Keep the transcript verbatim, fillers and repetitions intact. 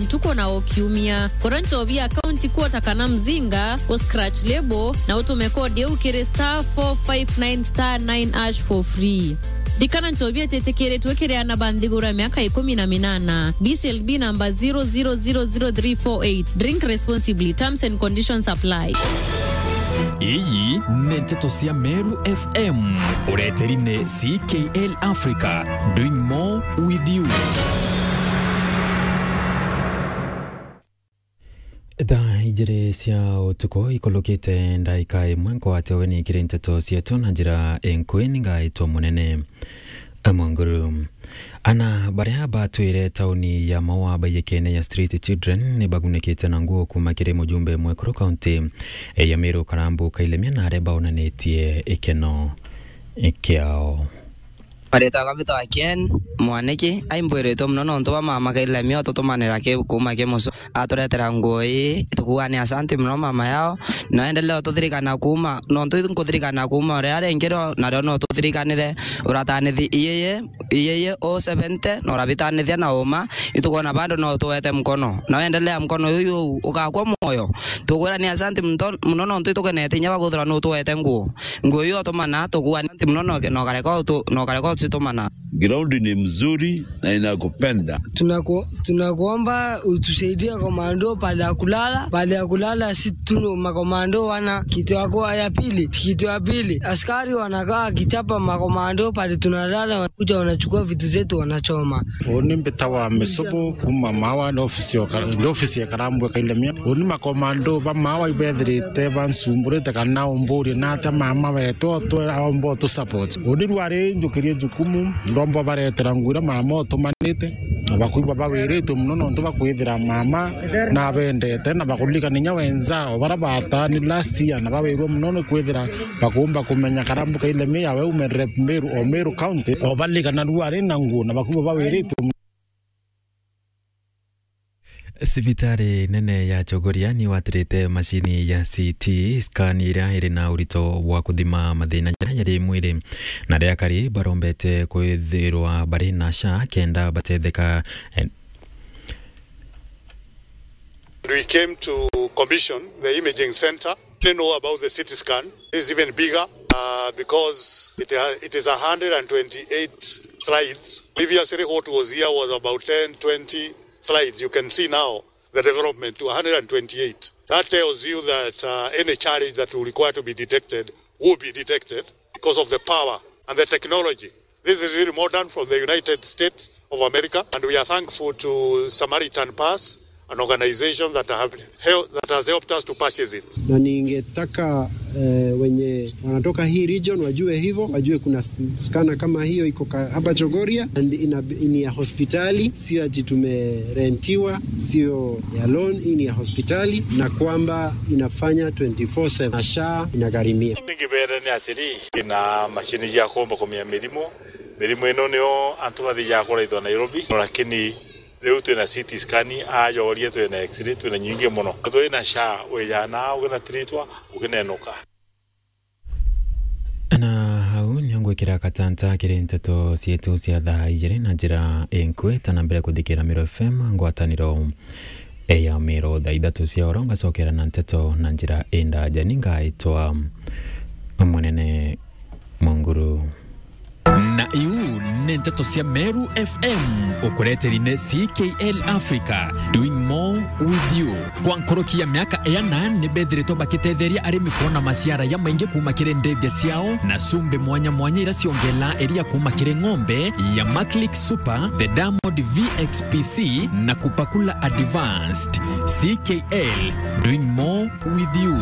ntuku na o kiumia. Kora nchobi ya county quarter kana mzinga, u scratch label, na utume code iu kiri star four five nine star nine hash for free. Ndikana nchobi ititikiritwe kiri ana ba nthiguru ya miaka ikumi na minana. B C L B number zero zero zero zero three four eight. Drink responsibly. Terms and conditions apply. Iyi ni nteto cia Meru F M. Ureteri ni C K L Africa, doing more with you. Thaa ijiri cia utuku ikulukite ndaika imwe, nkwate weni kiri nteto cietu na njira inkui, ni ngaitwa Munene Mwanguru. Ana baria batwire tauni ya Maua baiyikene ya street children ni bagunikite na nguo kuuma kiri mujumbe mwekuru kaunti ya Meru Karambu Kailemia, na aria baonanitie ikeno kiao. Maritwa jakwa mbitagwa Ken Mwaniki, aimbwiritwe mono nontu bwa mama Kailemia ututumanira ki kuuma ki mucu. Aturetera nguo ii, tukuuga ni asanti mono mama yao, na endelee ututhirikana kuuma, nontu nkuthirikana kuuma uria ringi rio, nario no tuthirikanire uratanithi iyeye, iyeye o seventy, na urabitanithia na uma, itukwona bado no tuwete mkono. Na endelea mkono yuyu ugakwa mwoyo. Tukwira ni asanti mto-, mono nontu itukenete inya bakuthira no tuwete nguo. Nguo iu otumana, tukuuga ni asanti mono no, no kareka utu-, no kareka ucitumana. Ground ni mzuri na inakupenda. Tunaku-, tunakuomba utusaidie komando pale ya kulala, pale ya kulala si tu makomando wana kiti wako ya pili, kiti wa pili. Askari wanakaa kichapa makomando pale tunalala, wanakuja wanachukua vitu zetu wanachoma. Uni mbitawa Misobo kuma Maua, ndio ofisi ya Kara-, ndio ofisi ya Karambwe Kailemia. Uni makomando ba Maua ibethirite bansumburite kana umburie na ata mama wetu otwe aomba utu support. Uni rwari njukirie jukumu, ndomba baretera nguo iria mama utumanite, na bakwigua bawiritwe mono nontu bakwithira mama nabendete, na bakuririkana inya wenzao bara batani last year, na bawirwe mono ni kwithira bakumba kumenya Karambu Kailemia we ume rep Meru o Meru County, o baririkana rwari na nguo, na bakwigua bawiritwe mono. Cibitari nene ya Chogoria ni watirite macini ya C T scan iria iri na urito bwa kuthima mathina jaria jari mwiri, na aria akari barombete kwithirwa bari na SHA kenda batetheka. We came to commission the imaging center. Didn't know about the C T scan. It's even bigger, uh, because it ha-, it is a hundred and twenty-eight slides. Previously, what was here was about ten, twenty slides. You can see now the development to a hundred and twenty-eight. That tells you that, uh, any challenge that will require to be detected will be detected because of the power and the technology. This is really modern from the United States of America, and we are thankful to Samaritan Pass, an organization that have help, that has helped us to purchase it. Na ningetaka, eh, wenye wanatoka hii region wajue hivyo, wajue kuna s-, scanner kama hiyo iko ka-, hapa Chogoria, and ina, ni ya hospitali, sio ati tumerentiwa, sio ya loan, hii ni ya hospitali, na kwamba inafanya twenty-four seven, na SHA inagharimia. Ningi bere ni atiri, ina mashini cia kuomba kumenya mirimo. Mirimo ino nio antu bathijaga kuraithwa Nairobi, lakini riu twina C T scan, ajoria twina X-ray, twina nyingi mono. Twina SHA, wijana, ukina tritwa, ukinenuka. Na hau nio ngwikira katanta kiri nteto cietu cia thaa ijiri na njira inkui, ta na mbere kuthikira Meru F M, ngwataniro ya Meru, thaa ithatu cia oro, ngacokera na nteto na njira indaja. Ni ngaitwa Munene Mwanguru. Na iu ni nteto cia Meru F M, ukureteri ni C K L Africa, doing more with you. Kwa nkoroki ya miaka iana, ni bethiritwe bakitetheria arimi kwona maciara jamaingi kuuma kiri ndithia ciao, na cumbi mwanya mwanya iria ciongela iria kuuma kiri ng'ombe ya Maclick Super, the Diamond V X P C, na Kupakula Advanced. C K L, doing more with you.